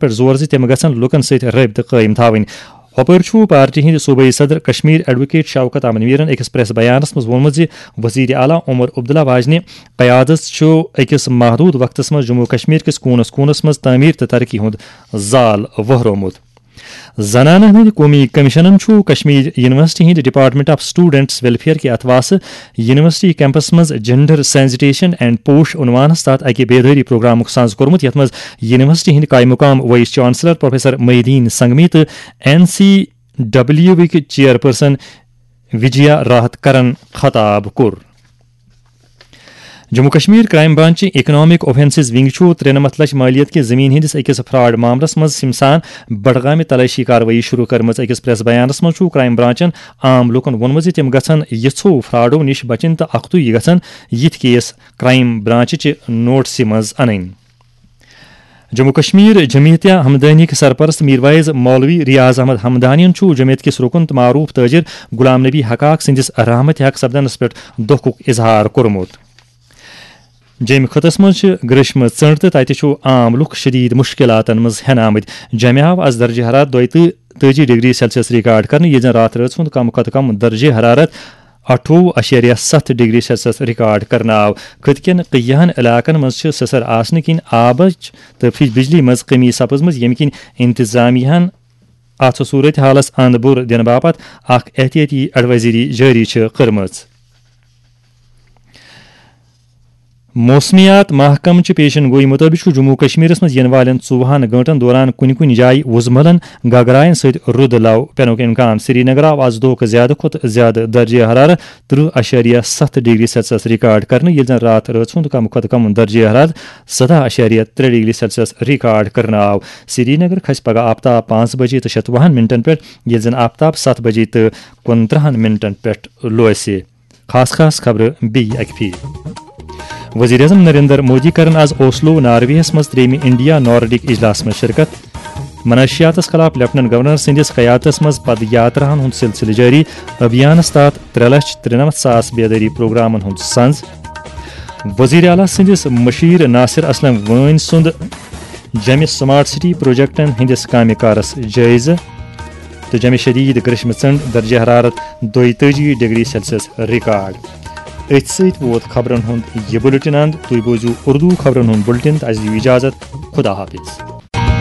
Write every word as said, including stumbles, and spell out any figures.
پٮ۪ٹھ زور زِ تِم گژھن لوٗکن سۭتۍ رٲبطہٕ قٲیِم تھاوٕنۍ۔ ہۄپٲرۍ چھُ پارٹی ہٕنٛدۍ صوبٲئی صدر کشمیر ایڈووکیٹ شوکت احمد میرن أکِس پریس بیانس منٛز ووٚنمُت زِ وزیر اعلیٰ عمر عبداللہ واجنہِ قیادت چھُ أکِس محدوٗد وقتس منٛز جموں کشمیر کِس کوٗنس کوٗنس منٛز تعمیٖر تہٕ ترقی ہُنٛد زال وہرومُت۔ زنانن ہٕنٛدِ قومی کمیشنن چھُ کشمیر یونیورسٹی ہٕنٛدِ ڈپارٹمنٹ آف اسٹوڈنٹس ویلفیئر کہِ اتھہٕ واسہٕ یونیورسٹی کیمپس منٛز جینڈر سینسٹیشن اینڈ پوش عنوانس تحت اکہِ بیدٲری پروگرامُک ساز کوٚرمُت، یتھ منٛز یونیورسٹی ہٕنٛدۍ قائم مقام vice chancellor professor Mohi ud Din Sangmi تہٕ این سی ڈبلیو وٕکۍ چیئرپرسن وجیا راحت کرن خطاب کوٚر۔ Jammu Kashmir crime branch economic offences wing چھُ ترٛنَمَتھ لچھ مالیت کہِ زمین ہٕنٛدِس أکِس فراڈ معاملس منٛز سمسان بڈگامہِ تلٲشی کاروٲیی شروع کٔرمٕژ۔ أکِس پریس بیانس منٛز چھُ کرائم برانچن عام لوٗکن ووٚنمُت زِ تِم گژھن یِژھو فراڈو نِش بچٕنۍ تہٕ اختی گژھن یِتھۍ کیس کرائم برانچ چہِ نوٹسہِ منٛز انٕنۍ۔ جموں کشمیر جمعیتہ ہمدانیٕکۍ سرپرست میرویز مولوی ریاض احمد ہمدانین چھُ جمعیت کِس رکن تہٕ معروف تاجر غلام نبی حقاق سٕنٛدِس رحمتِ حق سپدنس پٮ۪ٹھ دۄکھُک اظہار کوٚرمُت۔ جیٚمہِ خطس منٛز چھِ گریشمہٕ ژٔنٛڈ تہٕ تتہِ چھُ عام لُکھ شدید مشکلاتن منٛز ہٮ۪نہٕ آمٕتۍ۔ جیٚمہِ آو از درجہ حرارت دۄیہِ تہٕ تٲجی ڈگری سیلسیس ریکارڈ کرنہٕ، ییٚلہِ زن راتھ رٲژ ہُنٛد کم کھۄتہٕ کم درجہ حرارت اَٹھووُہ اَشاریہ ستھ ڈگری سیلسیس ریکارڈ کرنہٕ آو۔ خطہٕ کٮ۪ن کینٛہَن علاقن منٛز چھِ سٕسر آسنہٕ کِنۍ آبٕچ تہٕ فج-، بجلی منٛز کمی سپٕزمٕژ، ییٚمہِ کِنۍ انتظامیہ ہن اتھ صورت حالس اند بُر دِنہٕ باپتھ اکھ احتیاطی ایڈوائزری جٲری چھِ کٔرمٕژ۔ موسمیات محکمہٕ چہِ پیشن گوئی مُطٲبِق چھُ جموں کشمیرس منٛز یِنہٕ والٮ۪ن ژوٚوُہن گٲنٛٹن دوران کُنہِ کُنہِ جایہِ وُزملن گگراین سۭتۍ رُد لو پینُک امکان۔ سری نگر آو از دۄہ کھۄتہٕ زیادٕ کھۄتہٕ زیادٕ درجہ حرارت ترٕہ اَشاریہ ستھ ڈگری سیلسیس ریکارڈ کرنہٕ، ییٚلہِ زن راتھ رٲژ ہُنٛد کم کھۄتہٕ کم درجہ حرارت سداہ اَشاریہ ترٛےٚ ڈگری سیلسیس ریکارڈ کرنہٕ آو۔ سری نگر کھسہِ پگہہ آفتاب پانٛژھ بجے تہٕ شتوُہن منٹن پٮ۪ٹھ، ییٚلہِ زن آفتاب ستھ بجے تہٕ کُنترٕہن منٹن پٮ۪ٹھ لوسہِ۔ خاص خاص خبرٕ بیٚیہِ اکہِ پھِرِ۔ وزیر اعظم نریندر مودی کرن از اوسلو، نارویس منٛز ترٛیٚیِمہِ انڈیا نارڈک اجلاسس منٛز شرکت۔ منشیاتس خلاف لیفٹیننٹ گورنر سٕنٛدِس قیادتس منٛز پد یاتراہن ہُنٛد سلسلہٕ جٲری۔ ابھیانس تحت ترٛےٚ لچھ ترٛنَمتھ ساس بیدٲری پروگرامن ہُنٛد سنز۔ وزیر اعلیٰ سٕنٛدِس مشیر ناصر اسلم وٲنۍ سُنٛد جمہِ سمارٹ سٹی پروجیکٹن ہٕنٛدِس کامہِ کارس جٲیزٕ۔ تہٕ جمہِ شدید گریشمہٕ ژٔنٛڈ، درجہ حرارت دۄیتٲجی ڈگری سیلسیس ریکارڈ۔ أتھۍ سۭتۍ ووت خبرن ہُنٛد یہِ بُلٹن اند۔ تُہۍ بوٗزِو اردو خبرن ہُنٛد بُلٹن تہٕ اَسہِ دِیِو اجازت۔ خدا حافظ۔